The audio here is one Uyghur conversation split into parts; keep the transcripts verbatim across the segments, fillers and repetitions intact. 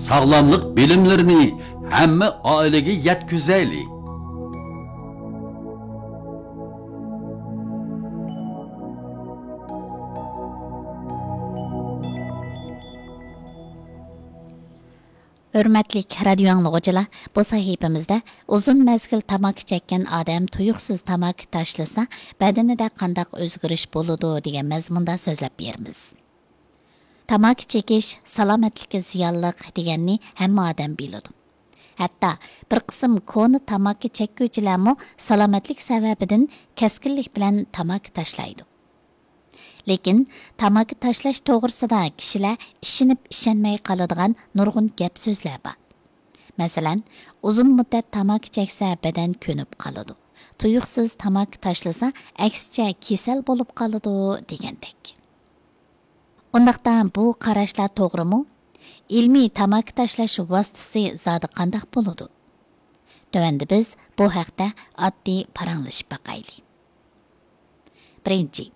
ساغلاملىق بىلىملىرىنى ھەممە ئائىلىگە يەتكۈزەيلى. ھۆرمەتلىك رادىيو ئاڭلىغۇچىلار، بۇ سەھىپىمىزدە ئۇزۇن مەزگىل تاماكا چەككەن ئادەم تۇيۇقسىز تاماكا تاشلىسا، بەدىنىدە قانداق ئۆزگىرىش بولىدۇ دېگەن مەزمۇندا سۆزلەپ بېرىمىز. تاماكا چېكىش سالامەتلىككە زىيانلىق دېگەننى ھەممە ئادەم بىلىدۇ. ھەتتا بىر قىسىم كونا تاماكا چەككۈچىلەرمۇ سالامەتلىك سەۋەبىدىن كەسكىنلىك بىلەن تاماكا تاشلايدۇ. لېكىن تاماكا تاشلاش توغرىسىدا كىشىلەر ئىشىنىپ ئىشەنمەي قالىدىغان نۇرغۇن گەپ سۆزلەر بار. مەسىلەن، ئۇزۇن مۇددەت تاماكا چەكسە بەدەن كۆنۈپ قالىدۇ. تۇيۇقسىز تاماكا تاشلىسا، ئەكسىچە كېسەل بولۇپ قالىدۇ دېگەندەك. ئۇنداقتا بۇ قاراشلار توغرىمۇ؟ ئىلمىي تاماكا تاشلاش ۋاسىتىسى زادى قانداق بولىدۇ؟ تۆۋەندە بىز بۇ ھەقتە ئاددىي پاراڭلىشىپ باقايلى. بىرىنچى،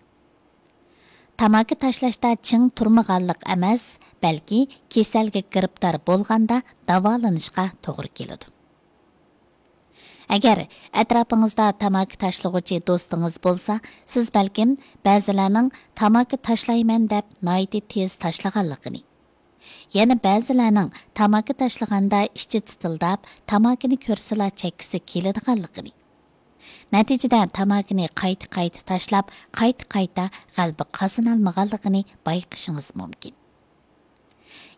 تاماكا تاشلاشتا چىڭ تۇرمىغانلىق ئەمەس، بەلكى كېسەلگە گىرىپتار بولغاندا داۋالىنىشقا توغرا كېلىدۇ. ئەگەر ئەتراپىڭىزدا تاماكا تاشلىغۇچى دوستىڭىز بولسا، سىز بەلكىم بەزىلەرنىڭ تاماكا تاشلايمەن دەپ ناھايىتى تېز تاشلىغانلىقىنى، يەنە بەزىلەرنىڭ تاماكا تاشلىغاندا ئىچى تىتىلداپ، تاماكىنى كۆرسىلا چەككۈسى كېلىدىغانلىقىنى، نەتىجىدە تاماكىنى قايتا-قايتا تاشلاپ، قايتا-قايتا غەلىبە قازىنالمىغانلىقىنى بايقىشىڭىز مۇمكىن.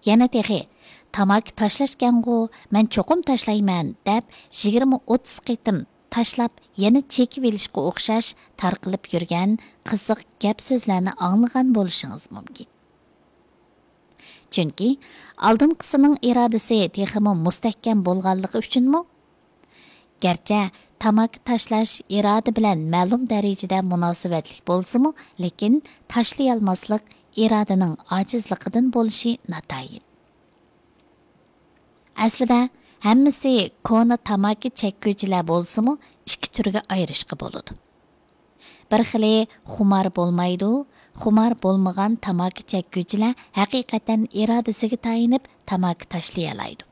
يەنە تېخى، «تاماكا تاشلاشكەنغۇ، مەن چوقۇم تاشلايمەن» دەپ، يىگىرمە ئوتتۇز قېتىم تاشلاپ، يەنە چېكىۋېلىشقا ئوخشاش تارقىلىپ يۈرگەن قىزىق گەپ سۆزلەرنى ئاڭلىغان بولۇشىڭىز مۇمكىن. چۈنكى ئالدىنقىسىنىڭ ئىرادىسى تېخىمۇ مۇستەھكەم بولغانلىقى ئۈچۈنمۇ؟ گەرچە تاماكا تاشلاش ئىرادە بىلەن مەلۇم دەرىجىدە مۇناسىۋەتلىك بولسىمۇ، لېكىن تاشلىيالماسلىق ئىرادىنىڭ ئاجىزلىقىدىن بولۇشى ناتايىن. ئەسلىدە ھەممىسى كونا تاماكا چەككۈچىلەر بولسىمۇ، ئىككى تۈرگە ئايرىشقا بولىدۇ. بىر خىلى خۇمار بولمايدۇ، خۇمار بولمىغان تاماكا چەككۈچىلەر ھەقىقەتەن ئىرادىسىگە تايىنىپ تاماكا تاشلىيالايدۇ.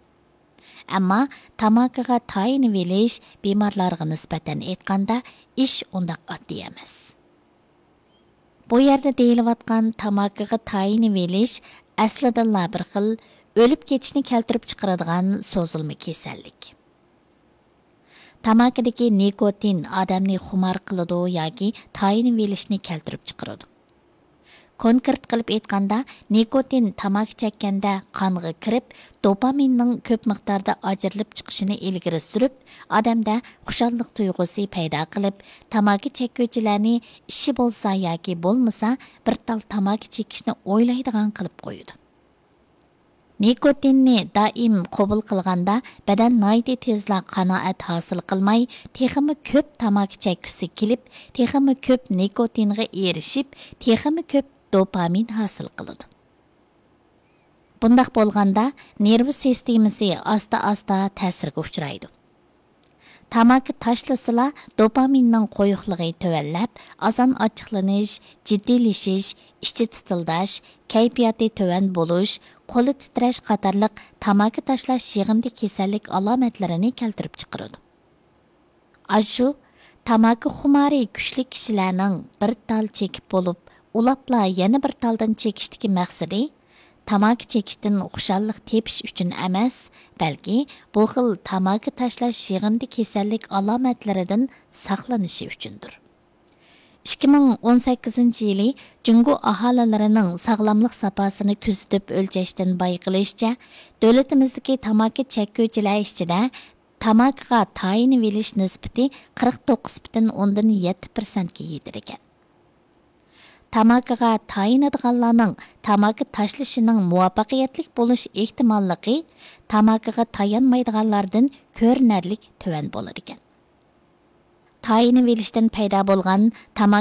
ئەمما تاماكىغا تايىنىۋېلىش بىمارلارغا نىسبەتەن ئېيتقاندا ئىش ئۇنداق ئاددىي ئەمەس. بۇ يەردە دېيىلىۋاتقان تاماكىغا تايىنىۋېلىش ئەسلىدىنلا بىر خىل ئۆلۈپ كېتىشنى كەلتۈرۈپ چىقىرىدىغان سوزۇلما كېسەللىك. تاماكىدىكى نىكوتىن ئادەمنى خۇمار قىلىدۇ ياكى تايىنىۋېلىشنى كەلتۈرۈپ چىقىرىدۇ. كونكرېت قىلىپ ئېيتقاندا، نىكوتىن تاماكا چەككەندە قانغا كىرىپ، دوپامىننىڭ كۆپ مىقداردا ئاجرىلىپ چىقىشىنى ئىلگىرى سۈرۈپ، ئادەمدە خۇشاللىق تۇيغۇسى پەيدا قىلىپ، تاماكا چەككۈچىلەرنى ئىشى بولسا ياكى بولمىسا، بىر تال تاماكا چېكىشنى ئويلايدىغان قىلىپ قويىدۇ. نىكوتىننى دائىم قوبۇل قىلغاندا، بەدەن ناھايىتى تېزلا قانائەت ھاسىل قىلماي، تېخىمۇ كۆپ تاماكا چەككۈسى كېلىپ، تېخىمۇ كۆپ نىكوتىنغا ئېرىشىپ، تېخىمۇ كۆپ دوپامىن ھاسىل قىلىدۇ. بۇنداق بولغاندا، نېرۋا سىستېمىسى ئاستا-ئاستا تەسىرگە ئۇچرايدۇ. تاماكا تاشلىسىلا، دوپامىننىڭ قويۇقلۇقى تۆۋەنلەپ، ئاسان ئاچچىقلىنىش، جىددىيلىشىش، ئىچى تىتىلداش، كەيپىياتى تۆۋەن بولۇش، قولى تىترەش قاتارلىق تاماكا تاشلاش يىغىندى كېسەللىك ئالامەتلىرىنى كەلتۈرۈپ چىقىرىدۇ. ئاشۇ تاماكا خۇمارى كۈچلۈك كىشىلەرنىڭ بىر تال چېكىپ بولۇپ، ئۇلاپلا يەنە بىر تالدىن چېكىشتىكى مەقسىتى تاماكا چېكىشتىن خۇشاللىق تېپىش ئۈچۈن ئەمەس، بەلكى بۇ خىل تاماكا تاشلاش يىغىندى كېسەللىك ئالامەتلىرىدىن ساقلىنىشى ئۈچۈندۇر. ئىككى مىڭ ئون سەككىزىنچى يىلى جۇڭگو ئاھالىلىرىنىڭ ساغلاملىق ساپاسىنى كۆزىتىپ ئۆلچەشتىن بايقىلىشىچە، دۆلىتىمىزدىكى تاماكا چەككۈچىلەر ئىچىدە تاماكىغا تايىنىۋېلىش نىسبىتى قىرىق توققۇز پۈتۈن ئوندىن يەتتە پىرسەنتكە يېتىدىكەن. تاماكىغا تايىنىدىغانلارنىڭ تاماكا تاشلىشىنىڭ مۇۋەپپەقىيەتلىك بولۇش ئېھتىماللىقى تاماكىغا تايانمايدىغانلاردىن كۆرۈنەرلىك تۆۋەن بولىدىكەن. تايىنىۋېلىشتىن پەيدا بولغان تاماكا